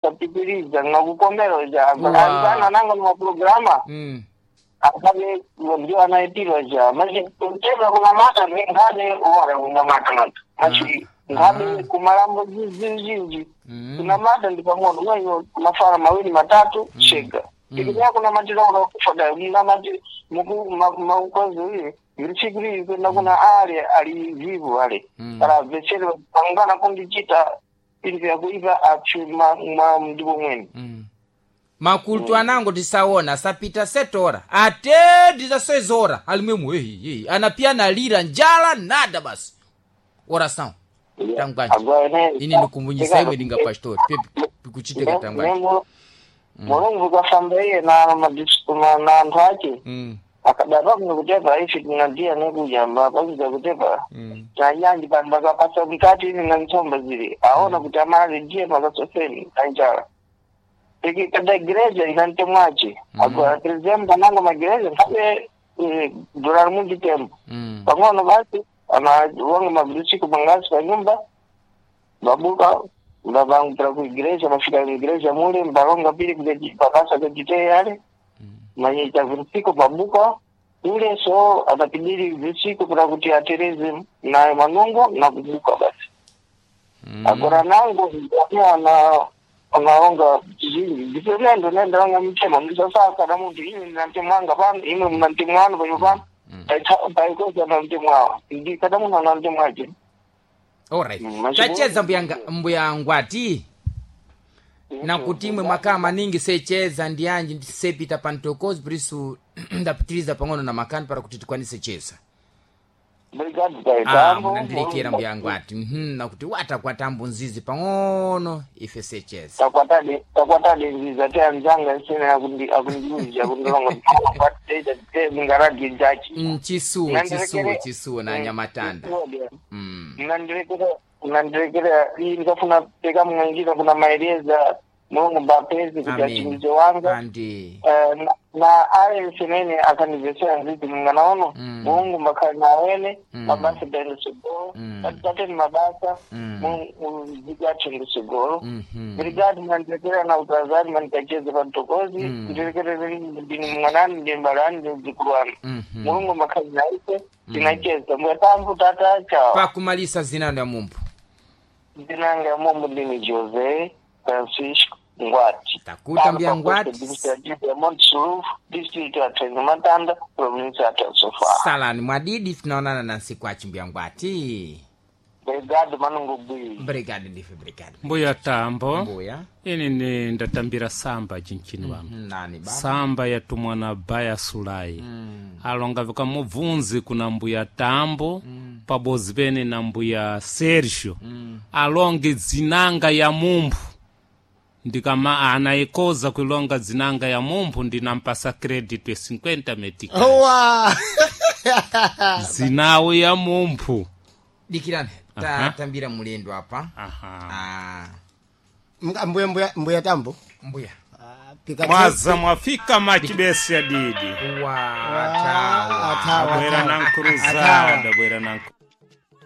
Tapitiriza nakukomera Wow. anzana nanga maprograma akhale ndio anaitira ja machi kuteva kunamata nkhale ora kunamata mata machi nkhale kumalambo zinjinji kunamata ndi pang'ono mweyo mafara mawiri matatu shega ikikuya kunamatira kuda kunamati muku maukozi uye virchikiri kwenda kuna ale ali vivu ale kana vechere pangana kundichita ili vyakuiva achu ma mdibo mwene. Makultu anango tisaona sapita setora ate ndisasezora alimwemu ehi ehi anapia nalira njala nada basi oração tangwanje ini ndikumbunyisa imwe dinga pastor pikuchiteka tangwanje. Mulungu kafamba iye na na anthu ake akadapa kuno kutepa ife tinadiya nekujamba pakuza kutepa tanyanji pano pakapasa mkati ini na ntsomba zili aona kuti amali ndiye pakasoseni kanjala iki kada igreja ina mtemwache agora presidente anango magereja nkhabe dolari mundi tembo pang'ono basi anawonga mabrusiko mangasi pa nyumba babuka mbabangupira ku igreja mafika ku igreja mule mbalonga pili pakasa kajiteye ale manyita virusiko babuka ule so atapidili virusiko pira kuti atereze naye manungo na kubuka basi. Agora nango ana anaonga zvinji ndipenendo nendaonga mutema ndisasaka na muntu ine ndina pano imwe muna mtemo wanu panyo pano paikoza na mtemo awo ndikada munhu ana mtemo ache. Alright, tacheza mbuya ngwati nakuti imwe makaa maningi secheza ndianji sepita pantokozi prisu ndapitiriza pang'ono na makani para kuti tikwanise cheza. Brigade. Ah, munandirekera mbuya ngwati. Nakuti watakwata nzizi pang'ono ife secheza. Takwatade takwatade nziza te anzanga isene akundiuza akundilonga mungaradi jachi. Chisuwo chisuwo chisuwo na nyamatanda. Mnandirekera iyi ndikafuna peka mung'ang'ira kuna maereza mulungu mbapezi kuti Amen. achimize wanga. Andi. Na ayense nene akandibvesera nzizi munganaono. Mulungu makhali nawene mabasa taende tsogolo patitateni mabasa ziki athu tsogolo. Brigade mandirekera na utazari mandikacheze patokozi ndirekerere ndini mwanani ndini mbalani ndini mdzukulu wanu. Mulungu makhali naise tinacheza mbuya tambu tata chao. Pakumalisa zinano ya mumbu. Ndinanga mombo ndini Jose Francisco Ngwati. Takuta mbuya Ngwati. Administrative ya Monte district ya Matanda, province ya Sofala. Salani mwadidi tunaonana na nsiku achi mbuya Ngwati. Brigade manungu bwi. Brigade ndife brigade. Mbuya tambo. Mbuya. Ini ni ndatambira samba cinchini wanu. Nani baba? Samba yatumwa na baya sulai alonga vikamubvunzi kuna mbuya tambo pabozi pene na mbuya Sergio alonge dzinanga ya mumphu ndikama anaikoza kuilonga dzinanga ya mumphu ndinampasa credit ya 50 meticais. Wa! Zinawo ya mumphu. Dikirani Aha. tatambira mulendo apa. Aha. Ah, Mbuya mbuya mbuya tambo. mbuya. Ah, pika Mwaza mwafika machibesi ya didi. Watawa. Atawa. Bwera na nkruzada bwera na